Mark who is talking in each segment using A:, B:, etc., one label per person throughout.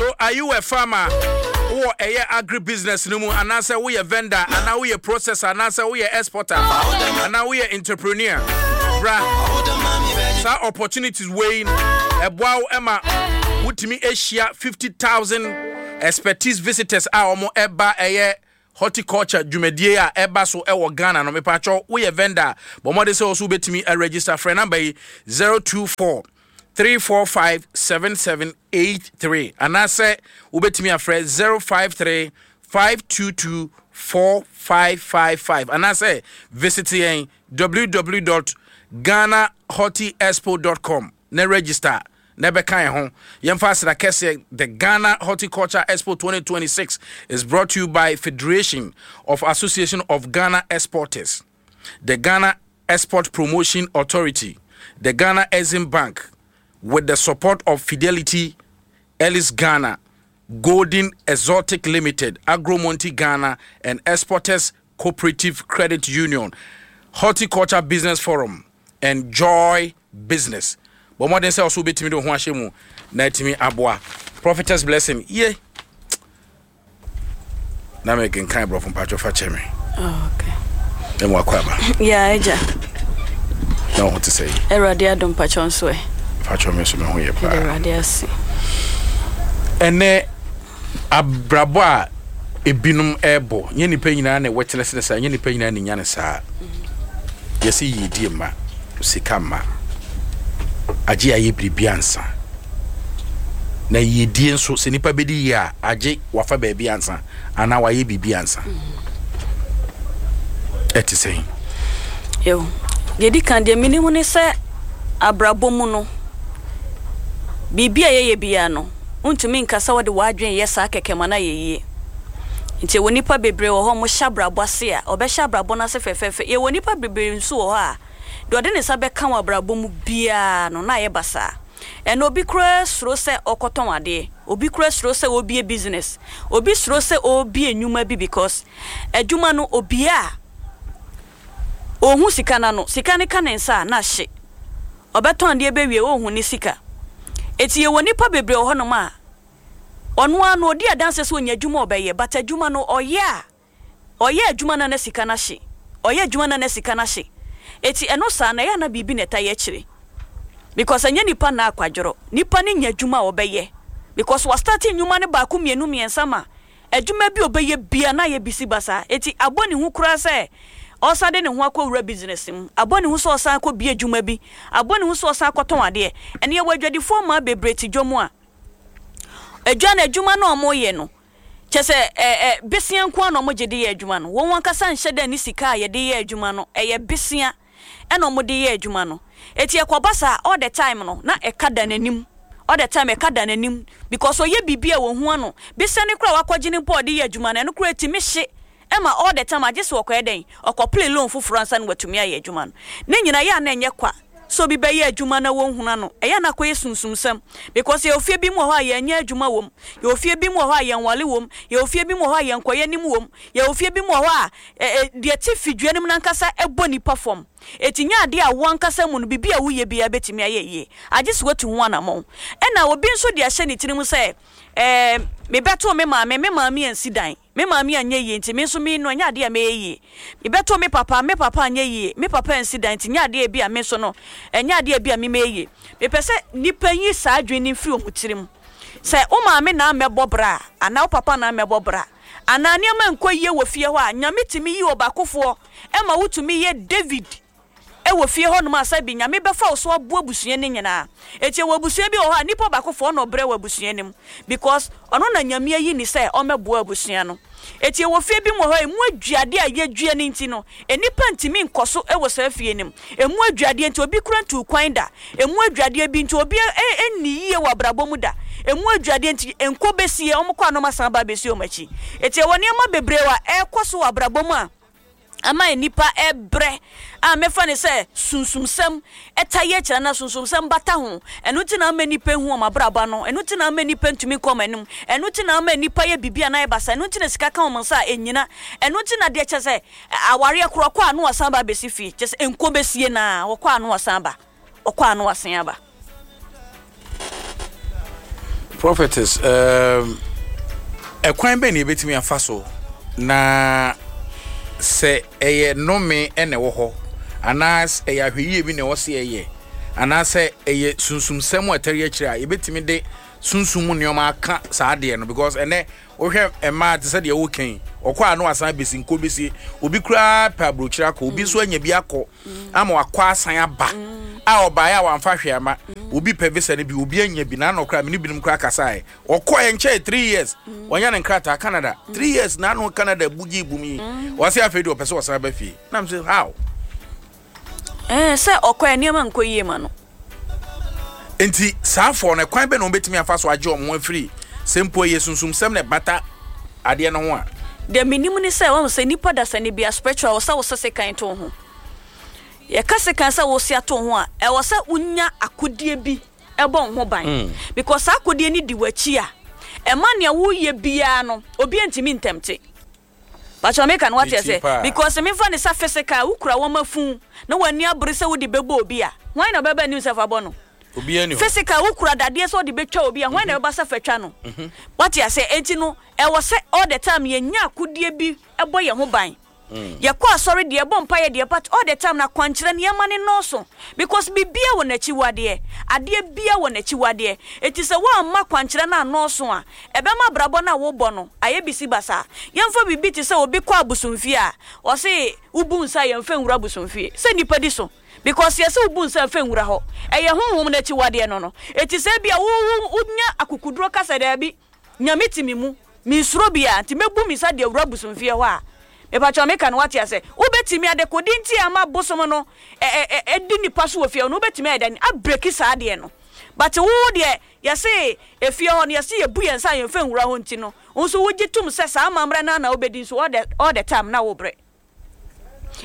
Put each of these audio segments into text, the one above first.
A: So are you a farmer? Wowɔ ɛyɛ agri business no mu anaasɛ woyɛ vendor anaa woyɛ processor anaasɛ woyɛ exporter anaa woyɛ entrepreneur? Bra saa opportunities wei ɛboa wo ɛma wotumi ahyia 50,000 expertise visitors a wɔn ɛba ɛyɛ Horticulture dwumadie a ɛba so wɔ Ghana no. Mepakyɛw, woyɛ vendor a, bɔ mmɔden sɛ wo nso wobɛtumi aregister. Frɛ number yi, 024 345 7783 anaasɛ wobɛtumi afrɛ 053 522 4555 anaasɛ visit yɛn www.ghanahortiexpo.com na register na ɛbɛka yɛn ho. Yɛmfa aseda kɛseɛ. The Ghana Horticulture Expo 2026 is brought to you by Federation of Association of Ghana Exporters, the Ghana Export Promotion Authority, the Ghana Exim Bank, with the support of Fidelity Ellis Ghana, Golden Exotic Limited, Agromonti Ghana, and Exporters Cooperative Credit Union, Horticulture Business Forum, and Joy Business. Bɔ mmɔden sɛ ɔso wobɛtumi de wo ho ahyɛ mu na atumi aboa. Prophetess Blessing, ye. Na mekenkan borɔfo mpatwɔ fa kyɛ me.
B: Oh, okay.
A: Ɛmu akɔ aba.
B: Yeah, agya.
A: Na wo ho te sɛ yi.
B: Awurade adom mpakyɛ nso ɛ.
A: Mpakyɛ me nso me ho yɛ paa.
B: Awurade ase.
A: Ɛnɛ abrabɔ a ebinom rebɔ, nyɛ nnipa nyinaa na witness ne saa, nyɛ nnipa nyinaa na nya ne saa. Yɛsɛ yiedie mma, sika mma, agye ayɛ biribi ansa. Na yiedie nso, sɛ nipa bɛdi yie a, agye wafa baabi ansa anaa wayɛ biribi ansa. Ɛte sɛn?
B: Yo, deɛ di kan deɛ menim ne sɛ abrabɔ mu no, biribi a yɛyɛ biara no, Wontumi nka sɛ wode w'adwene reyɛ saa kɛkɛ ma no ayɛ yie. Nti yɛwɔ nnipa bebree wɔ hɔ a wɔhyɛ abrabɔ ase a, wɔbɛhyɛ abrabɔ no ase fɛfɛɛfɛ. Yɛwɔ nnipa bebree nso wɔ hɔ a, deɛ ɔde ne nsa bɛka wɔ abrabɔ mu biara no, na ayɛ basaa. Ɛnnɛ obi koraa suro sɛ ɔkɔtɔn adeɛ, obi koraa suro sɛ ɔrebue business, obi suro sɛ ɔrebue nnwuma bi because adwuma no obue a, ɔnhu sika no ano. Sika no ka ne nsa a, na ahye. Ɔbɛtɔn adeɛ bɛwie ɔnhu ne sika. Enti yɛwɔ nnipa bebree wɔ hɔnom a, ɔno ara no ɔdi adanseɛ sɛ ɔnya adwuma a ɔbɛyɛ but adwuma no ɔyɛ a, ɔyɛ adwuma no a na sika no ahye, ɔyɛ adwuma no a na sika no ahye. Enti ɛno saa no ɛyɛ a na biribi na ɛta yɛ akyire because ɛnyɛ nipa na akwadworɔ, nipa no nya adwuma a ɔbɛyɛ because wa starte nnwuma no baako mmienu mmiɛnsa ma Adwuma bi a ɔbɛyɛ biara na ayɛ bisi basaa. Enti abɔ ne hu koraa sɛ ɔresan de ne ho akɔwura business mu. Abɔ ne hu sɛ ɔresan akɔbue adwuma bi. Abɔ ne hu sɛ ɔresan akɔtɔn adeɛ. Ɛnna yɛwɔ adwadifoɔ mmaa bebree te dwam a, adwa no, adwuma no a wɔyɛ no, kyerɛ sɛ ɛ ɛ besea nko ara na wɔgye de yɛ adwuma no. Wɔn ankasa nhyɛ da nni sika a yɛde yɛ adwuma no. Ɛyɛ besea na wɔde yɛ adwuma no. Enti ɛkɔba saa all the time no na ɛka da n'anim, all the time ɛka da n'anim because ɔyɛ biribi a wɔhu ano. Bisa no koraa a wakɔgye no mpo a ɔde yɛ adwuma no, ɛno koraa ɛtumi hye ma all the time agye sɛ ɔkɔyɛ dɛn, ɔkɔpele loan foforɔ ansa na watumi ayɛ adwuma no. Ne nyinaa ɛyɛ a na ɛnyɛ kwa sɛ obi bɛyɛ adwuma na wɔnhunu ano, ɛyɛ a na akɔyɛ sunsumsɛm because yɛwɔ fie bi mu wɔ hɔ a yɛnyɛ adwuma wɔ mu, yɛwɔ fie bi mu wɔ hɔ a yɛnwale wɔ mu, yɛwɔ fie bi mu wɔ hɔ a yɛnkɔyɛ anim wɔ mu, yɛwɔ fie bi mu wɔ hɔ a Ɛ, deɛ ɛte fidua no mu no ankasa bɔ nnipa fam. Enti nyɛ adeɛ a wo ankasa mu no, biribi a woyɛ biara bɛtumi ayɛ yie, agye sɛ woatu ho anammɔn. Ɛna obi nso de ahyɛ ne tirim sɛ, Ɛɛ, mebɛtoo me maame, me maame ansi dan, me maame anyɛ yie nti me nso me no, ɛnyɛ adeɛ a mɛyɛ yie. Mebɛtoo me papa, me papa anyɛ yie, me papa ansi dan nti nyɛ adeɛ a ebia me nso no, ɛnyɛ adeɛ a ebia me mɛyɛ yie. Mepɛ sɛ nnipa yi saa adwene no mfiri wɔn tirim. Sɛ wo maame na ammɛbɔ bra anaa wo papa na ammɛbɔ bra, anaa nneɛma nkɔ yie wɔ fie hɔ a, Nyame tumi yi ɔbaakofoɔ ma wo tumi yɛ David wɔ fie hɔ nom a sɛbi Nyame bɛfa wo so aboa abusua no nyinaa. Enti ɛwɔ abusua bi wɔ hɔ a nipa ɔbaakofoɔ ɔna ɔbrɛ wɔ abusua no mu because ɔno na Nyame ayi no sɛ ɔmmɛboa abusua no. Enti ɛwɔ fie bi mu wɔ hɔ a ɛmu aduadeɛ a yɛdua no nti no nnipa ntumi nkɔ so wɔ saa fie no mu. Ɛmu aduadeɛ nti obi koraa ntuu kwan da. Ɛmu adwadeɛ bi nti obi nni yie wɔ abrabɔ mu da. Ɛmu adwadeɛ nti nkɔ bɛsie, wɔn kɔ a na wɔn asan aba abɛsi wɔn akyi. Enti ɛwɔ nneɛma bebree a ɛrekɔ so wɔ abrabɔ mu a ama nnipa rebrɛ a mɛfa no sɛ sunsumsɛm ta yɛ akyire anaa sunsumsɛm bata ho. Ɛno nti na ama nnipa nhu wɔn abrabɔ ano. Ɛno nti na ama nnipa ntumi nkɔ wɔn anim. Ɛno nti na ama nnipa yɛ biribi a na ayɛ basaa. Ɛno nti na sika ka wɔn nsa a ɛnnyina. Ɛno nti na deɛ kyerɛ sɛ Awareɛ korɔ ɔkɔ a na wasan ba abɛsi fie kyerɛ sɛ nko bɛsie no ara ɔkɔ a na wasan aba ɔkɔ a na wasan aba.
A: Prophetess, um, ɛkwan bɛn na yɛbɛtumi afa so na sɛ ɛyɛ nnome na ɛwɔ hɔ anaa ɛyɛ ahwɛyie bi na ɛwɔ sɛ yɛyɛ anaasɛ ɛyɛ sunsumsɛm a ɛtɛre akyire a yɛbɛtumi de sunsum mu nneɛma aka saa adeɛ no because ɛnɛ Wohwɛ mmaa te sɛ deɛ woka yi, ɔkɔ a na wasan abɛsi nko bɛsi. Obi koraa pɛ aburokyire akɔ, obi nso anya bi akɔ ama wakɔ asan aba a ɔbaeɛ a wamfa hwee ama. Obi pɛ visa no bi, obi anya bi, n'ano koraa me ne binom koraa kasaeɛ. Ɔkɔɛ nkyɛe 3 years, wanya ne nkrataa Canada. 3 years n'ano Canada bugyi bum yi. Ɔse afei deɛ ɔpɛ sɛ ɔsan ba fie. Na me sɛ how?
B: Ɛɛ sɛ ɔkɔɛ nneɛma nkɔ yie ma no.
A: Enti saa afɔɔ no, ɛkwan bɛn na wɔbɛtumi afa so agye wɔn ho afiri, sɛ mpo ɛyɛ sunsumsɛm na ɛbata adeɛ no ho a?
B: Deɛ menim ne sɛ, wahu sɛ nnipa dasani biara, spiritual, ɛwɔ sɛ wosɛ sekan to wo ho. Yɛka sekan sɛ wose ato wo ho a, ɛwɔ sɛ wonya akodeɛ bi bɔ wo ho ban. Because saa akodeɛ no di w'akyi a, ɛma nea woreyɛ biara no, obiara ntumi ntɛmte. Pakyɛw meka no wate ase? Because memfa no sɛ physical wo kura wɔma fun na w'ani abere sɛ wode bɛbɔ obi a, hwan na ɔbɛba anim sɛ fa bɔ no? Physical wo kura dadeɛ sɛ wode bɛtwa obi a, hwan na ɛbɛba sɛ fa twa no? Wate ase? Enti no ɛwɔ sɛ all the time yɛnya akodeɛ bi bɔ yɛn ho ban. Yɛkɔ asɔre deɛ, yɛbɔ mpaeɛ deɛ, but all the time no akwankyerɛ no yɛma no nnɔɔso because biribiara wɔ n'akyiwadeɛ, adeɛ biara wɔ n'akyiwadeɛ. Enti sɛ woamma akwankyerɛ no annɔɔso a, Ɛbɛma abrabɔ no a wobɔ no ayɛ bisi basaa. Yɛmfa biribi te sɛ obi kɔ abosomfie a, ɔse wobu nsa a yɛmfa nwura abosomfie. Sɛ nnipa di so. Because yɛse wobu nsa a mfa nwura hɔ. Ɛyɛ honhom no akyiwadeɛ no no. Enti sɛ ebia wo wo wonya akokuduro ka sɛ daabi, Nyame te me mu, mensuro biara, nti mɛbu me nsa de awura abosomfie hɔ a, mepakyɛw meka no woate ase? Wobɛtumi, adekode nti a ama bosom no ɛ ɛ ɛ di nnipa so wɔ fie hɔ no, wobɛtumi ayɛ dɛn abreki saa adeɛ no. But wo deɛ Yɛse efie hɔ no yɛse yɛbu yɛn nsa a yɛnfa nwura hɔ nti no wo nso wogye tom sɛ saa amammerɛ no ara na wobɛdi nso all the all the time na wobrɛ.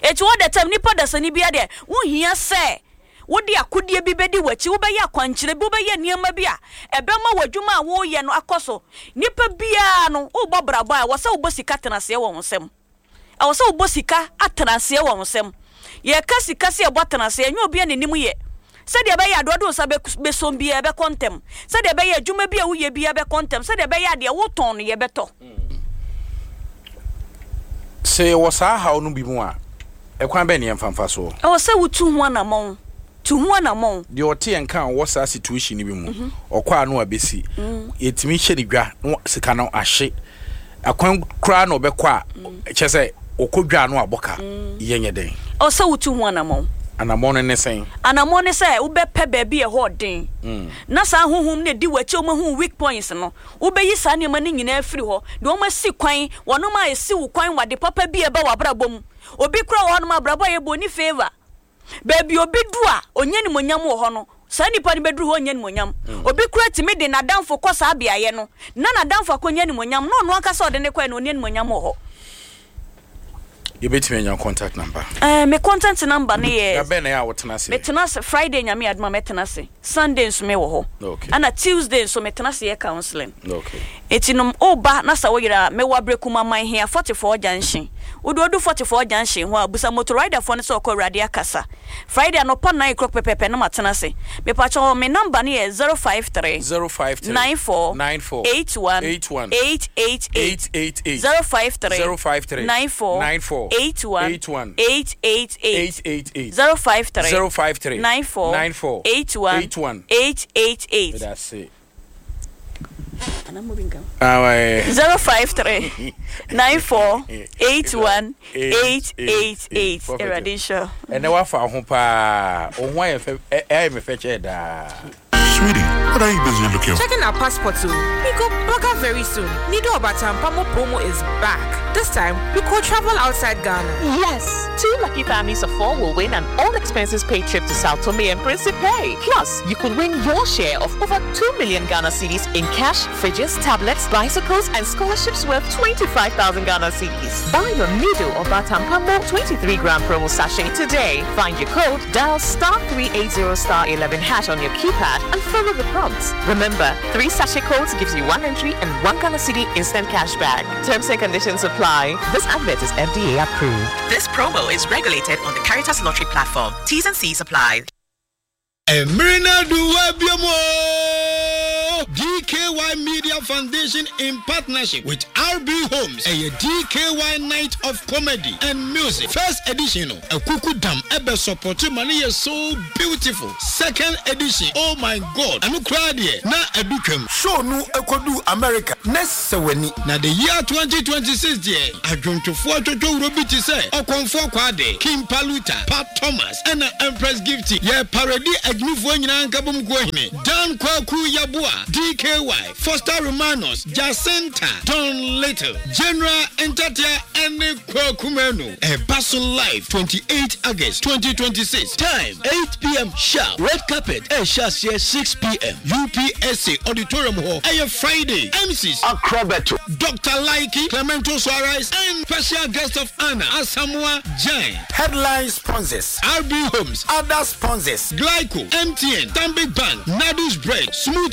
B: Enti all the time nipa dasani biara deɛ wohia sɛ wode akodeɛ bi bɛdi w'akyi, wobɛyɛ akwankyerɛ bi, wobɛyɛ nneɛma bi a ɛbɛma w'adwuma a woreyɛ no akɔ so. Nipa biara no wobɔ brabɔ a ɛwɔ sɛ wobɔ sika tenaseɛ wɔ wo nsam. Ɛwɔ sɛ wobɔ sika atenaseɛ wɔ wo nsam. Yɛka sika sɛ yɛbɔ atenaseɛ, ɛnyɛ obiara na ɛnim yɛ. Sɛdeɛ ɛbɛyɛ a deɛ wode wo nsa bɛsɔm biara ɛbɛkɔ ntɛm. Sɛdeɛ ɛbɛyɛ a adwuma bi a woyɛ biara bɛkɔ ntɛm. Sɛdeɛ ɛbɛyɛ a deɛ wotɔn no yɛbɛtɔ.
A: Sɛ yɛwɔ saa haw no bi mu a, ɛkwan bɛn na yɛmfa mfa soɔ?
B: Ɛwɔ sɛ wotu ho anammɔn. Tu ho anammɔn.
A: Deɛ ɔte yɛn nka a ɔwɔ saa situation no bi mu, ɔkɔ a na wabɛsi. Yɛtumi hyɛ no dwa na sika no ahye. Akwan koraa na ɔbɛkɔ a, kyerɛ sɛ ɔkɔ dwa a na wabɔ ka. Yɛnyɛ dɛn?
B: Ɛwɔ sɛ wotu ho anammɔn.
A: Anammɔn no ne sɛn?
B: Anammɔn ne sɛ wobɛpɛ baabi a ɛhɔ ɔden na saa honhom no a ɛdi w'akyi a wɔahu wo weak points no, wobɛyi saa nneɛma no nyinaa afiri hɔ. Deɛ wɔasi kwan, wɔnom a ɛsi wo kwan wɔ ade papa bi a ɛba w'abrabɔ mu. Obi koraa wɔ hɔnom a abrabɔ a yɛbɔ ɔnni favour. Baabi a obi du a ɔnya animuonyam wɔ hɔ no, saa nipa no bɛduru hɔ ɔnnya animuonyam. Obi koraa tumi de n'adamfo kɔ saa beaeɛ no, na n'adamfo akɔnya animuonyam, na ɔno ankasa a ɔde no kɔeɛ no, ɔnni animuonyam wɔ hɔ.
A: Yɛbɛtumi anya contact number?
B: Eh, me contact number no yɛ.
A: Da bɛn na ɛyɛ a wotena ase?
B: Metena ase Friday Nyame adom a mɛtena ase. Sunday nso me wɔ hɔ.
A: Okay.
B: Ɛna Tuesday nso metena ase yɛ counseling.
A: Okay.
B: Enti no woba na sɛ woyera a, mewɔ Abrekuman Manhia 44 junction. Wode odu 44 junction hɔ a, busa motor rider foɔ no sɛ ɔkɔ Awurade akasa. Friday anɔpa 9 o'clock pɛpɛɛpɛ na matena ase. Mepakyɛw me number no yɛ 053
A: 053
B: 94
A: 94
B: 81
A: 81
B: 888
A: 888
B: 053
A: 053
B: 94
A: 94
B: 81
A: 81
B: 888
A: 888
B: 053
A: 053
B: 94
A: 94
B: 81
A: 81
B: 888
A: Meda ase.
B: 053 94 81 888 Awurade nhyira.
A: Ɛnɛ wafa ho paa. Wo ho ayɛ fɛ ɛyɛ me fɛ kyɛɛ daa.
C: Sweetie, what are you busy looking for?
D: Checking our passports, oh. We go bugger very soon. Nido Obatampamo promo is back. This time, we could travel outside Ghana.
E: Yes! Two lucky families of four will win an all expenses paid trip to Sao Tome and Principe. Plus, you could win your share of over 2 million Ghana cedis in cash, fridges, tablets, bicycles, and scholarships worth 25,000 Ghana cedis. Buy your Nido or Batampamo 23 gram promo sachet today. Find your code, dial star 380 star 11 hash on your keypad, and follow the prompts. Remember, three sachet codes gives you one entry and one Ghana cedi instant cash back. Terms and conditions apply. This advert is FDA approved.
F: This promo is regulated on the Caritas Lottery platform. T's and C's apply.
G: Mmere no adu hɔ biom oo! O DKY Media Foundation in partnership with RB Homes ɛyɛ DKY Night of Comedy and Music first edition no Akuku Dam ɛbɛ support ma no yɛ so beautiful second edition oh my God ɛno koraa deɛ na adu twam.
H: Show no kɔduu America na sɛ w'ani.
G: Na the year 2026 deɛ adwontofoɔ twotwowuro bi te sɛ Ɔkɔmfoɔ Kwade, King Paluta, Pat Thomas ɛna Empress Gifty yɛ paradi agyimifoɔ nyinaa nkabom kuo hene Dan Kwaku Yeboah, DKY, Foster Romanus, Jacinta, Don Little, General Ntatea ɛne Kwaku Manu. Ɛba so live 28 August 2026 time 8pm sharp. Red carpet ɛrehyɛ aseɛ 6pm UPSA auditorium hɔ. Ɛyɛ Friday. MCs.
H: Akrobeto.
G: Doctor Likey, Clemento Suarez and special guest of honour Asamoah Gyan.
H: Headline sponsors.
G: RB Homes.
H: Other sponsors.
G: Glyco, MTN, Stanbic Bank, Nadu's Bread, Smooth.